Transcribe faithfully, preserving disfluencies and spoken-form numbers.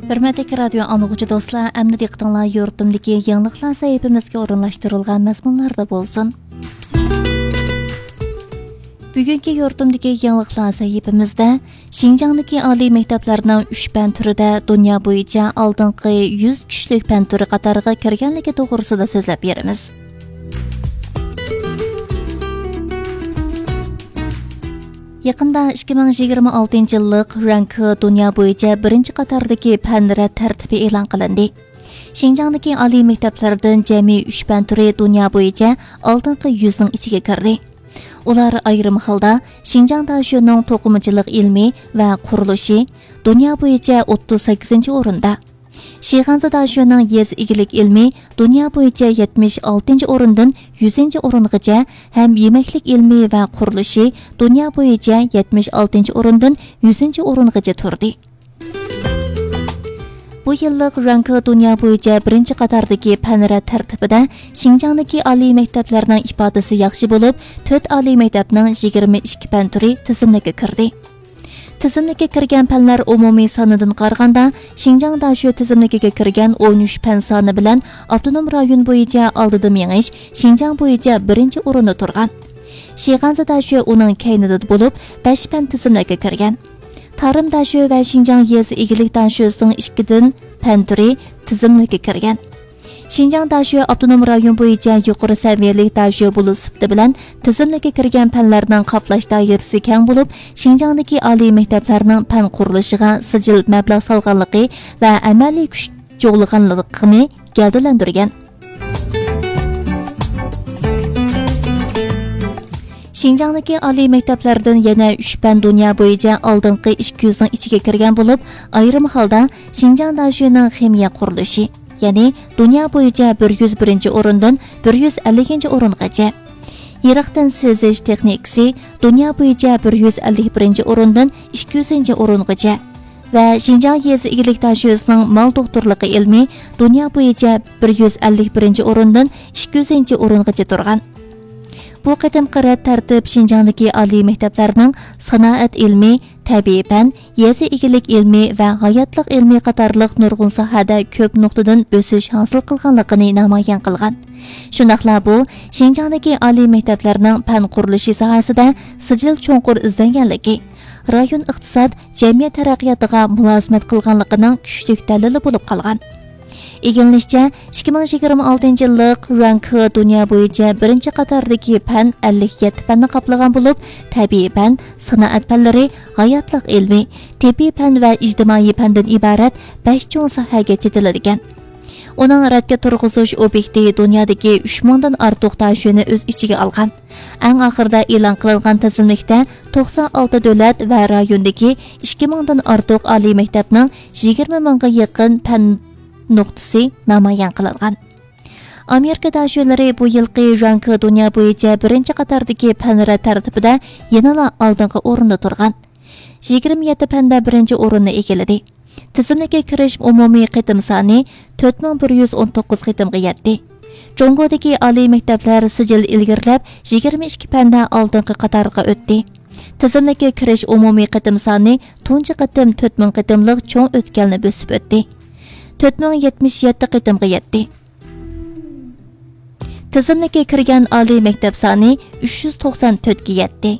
ھۆرمەتلىك رادىيو ئاڭلىغۇچى دوستلار، ئەمدى دىققىتىڭلار يۇرتۇمدىكى يېڭىلىقلار سەھىپىمىزگە ئورۇنلاشتۇرۇلغان مەزمۇنلاردا بولسۇن. بۈگۈنكى يۇرتۇمدىكى يېڭىلىقلار سەھىپىمىزدە شىنجاڭدىكى ئالىي مەكتەپلەرنىڭ ئۈچ پەن تۈرىدە دۇنيا بويىچە ئالدىنقى يۈز كۈچلۈك پەن تۈرى قاتارىغا كىرگەنلىكى توغرىسىدا سۆزلەپ بېرىمىز. يېقىندا ئىككى مىڭ يىگىرمە ئالتىنچى يىللىق رەنكى دۇنيا بويىچە بىرىنچى قاتاردىكى پەن رەت تەرتىپى ئېلان قىلىندى. شىنجاڭدىكى ئالىي مەكتەپلەردىن جەمئىي ئۈچ پەن تۈرى دۇنيا بويىچە ئالدىنقى يۈزنىڭ ئىچىگە كىردى. ئۇلار ئايرىم ھالدا شىنجاڭ داشۆنىڭ توقۇمىچىلىق ئىلمى ۋە قۇرۇلۇشى دۇنيا بويىچە ئوتتۇز سەككىزىنچى ئورۇندا، شىغەنزە داشۆنىڭ يېزا ئىگىلىك ئىلمى دۇنيا بويىچە يەتمىش ئالتىنچى ئورۇندىن يۈزىنچى ئورۇنغىچە ھەم يېمەكلىك ئىلمى ۋە قۇرۇلۇشى دۇنيا بويىچە يەتمىش ئالتىنچى ئورۇندىن يۈزىنچى ئورۇنغىچە تۇردى. بۇ يىللىق رەنكى دۇنيا بويىچە بىرىنچى قاتاردىكى پەن رەت تەرتىپىدە شىنجاڭدىكى ئالىي مەكتەپلەرنىڭ ئىپادىسى ياخشى بولۇپ، تۆت ئالىي مەكتەپنىڭ يىگىرمە ئىككى پەن تۈرى تىزىملىككە كىردى. تىزىملىككە كىرگەن پەنلەر ئومۇمىي سانىدىن قارىغاندا، شىنجاڭ داشۆ تىزىملىكىگە كىرگەن ئون ئۈچ پەن سانى بىلەن ئاپتونوم رايون بويىچە ئالدىدا مېڭىش شىنجاڭ بويىچە بىرىنچى ئورۇندا تۇرغان. شىغەنزە داشۆ ئۇنىڭ كەينىدە بولۇپ، بەش پەن تىزىملىككە كىرگەن. تارىم داشۆ ۋە شىنجاڭ يېزا ئىگىلىك داشۆسىنىڭ ئىككىدىن پەن تۈرى تىزىملىككە كىرگەن. شىنجاڭ داشۆ ئاپتونوم رايون بويىچە يۇقىرى سەۋىيەلىك داشۆ بولۇش سۈپىتى بىلەن تىزىملىككە كىرگەن پەنلەرنىڭ قاپلاش دائىرىسى كەڭ بولۇپ، شىنجاڭدىكى ئالىي مەكتەپلەرنىڭ پەن قۇرۇلۇشىغا سىجىل مەبلەغ سالغانلىقى ۋە ئەمەلىي كۈچ جۇغلىغانلىقىنى گەۋدىلەندۈرگەن. شىنجاڭدىكى ئالىي مەكتەپلەردىن يەنە ئۈچ پەن دۇنيا بويىچە ئالدىنقى ئىككى يۈزنىڭ ئىچىگە كىرگەن بولۇپ، ئايرىم ھالدا شىنجاڭ داشۆنىڭ خىمىيە قۇرۇلۇشى، يەنى دۇنيا بويىچە بىر يۈز بىرىنچى ئورۇندىن بىر يۈز ئەللىكىنچى ئورۇنغىچە، يىراقتىن سېزىش تېخنىكىسى دۇنيا بويىچە بىر يۈز ئەللىك بىرىنچى ئورۇندىن ئىككى يۈزىنچى ئورۇنغىچە ۋە شىنجاڭ يېزا ئىگىلىك داشۆسىنىڭ مال دوختۇرلۇقى ئىلمى دۇنيا بويىچە بىر يۈز ئەللىك بىرىنچى ئورۇندىن ئىككى يۈزىنچى ئورۇنغىچە تۇرغان. بۇ قېتىمقى رەت تەرتىپ شىنجاڭدىكى ئالىي مەكتەپلەرنىڭ سانائەت ئىلمى، تەبىئىي پەن، يېزا ئىگىلىك ئىلمى ۋە ھاياتلىق ئىلمى قاتارلىق نۇرغۇن ساھەدە كۆپ نۇقتىدىن بۆسۈش ھاسىل قىلغانلىقىنى نامايان قىلغان. شۇنداقلا بۇ شىنجاڭدىكى ئالىي مەكتەپلەرنىڭ پەن قۇرۇلۇشى ساھەسىدە سىجىل چوڭقۇر ئىزدەنگەنلىكى، رايون ئىقتىساد، جەمئىيەت تەرەققىياتىغا مۇلازىمەت قىلغانلىقىنىڭ كۈچلۈك دەلىلى بولۇپ قالغان. ئىگىلىنىشىچە، ئىككى مىڭ يىگىرمە ئالتىنچى يىللىق رەنكى دۇنيا بويىچە بىرىنچى قاتاردىكى پەن ئەللىك يەتتە پەننى قاپلىغان بولۇپ، تەبىئىي پەن، سانائەت پەنلىرى، ھاياتلىق ئىلمى، تېببىي پەن ۋە ئىجتىمائىي پەندىن ئىبارەت بەش چوڭ ساھەگە چېتىلىدىكەن. ئۇنىڭ رەتكە تۇرغۇزۇش ئوبيېكتى دۇنيادىكى ئۈچ مىڭدىن ئارتۇق داشۆنى ئۆز ئىچىگە ئالغان. ئەڭ ئاخىرىدا ئېلان قىلىنغان تىزىملىكتە توقسان ئالتە دۆلەت ۋە رايوندىكى ئىككى مىڭدىن ئارتۇق ئالىي مەكتەپنىڭ يىگىرمە مىڭغا يېقىن پەن نۇقتىسى نامايان قىلىنغان. ئامېرىكا داشۆلىرى بۇ يىلقى رەنكى دۇنيا بويىچە بىرىنچى قاتاردىكى پەن رەت تەرتىپىدە يەنىلا ئالدىنقى ئورۇندا تۇرغان. يىگىرمە يەتتە پەندە بىرىنچى ئورۇننى ئىگىلىدى. تىزىملىككە كىرىش ئومۇمىي قېتىم سانى تۆت مىڭ بىر يۈز ئون توققۇز قېتىمغا يەتتى. جۇڭگودىكى ئالىي مەكتەپلەر سىجىل ئىلگىرىلەپ، يىگىرمە ئىككى پەندە ئالدىنقى قاتارغا ئۆتتى. تىزىملىككە كىرىش ئومۇمىي قېتىم سانى تۇنجى قېتىم تۆت مىڭ قېتىملىق چوڭ ئۆتكەلنى بۆسۈپ ئۆتتى. تۆت مىڭ يەتمىش يەتتە قېتىمغا يەتتى. تىزىملىككە كىرگەن ئالىي مەكتەپ سانى ئۈچ يۈز توقسان تۆتكە يەتتى.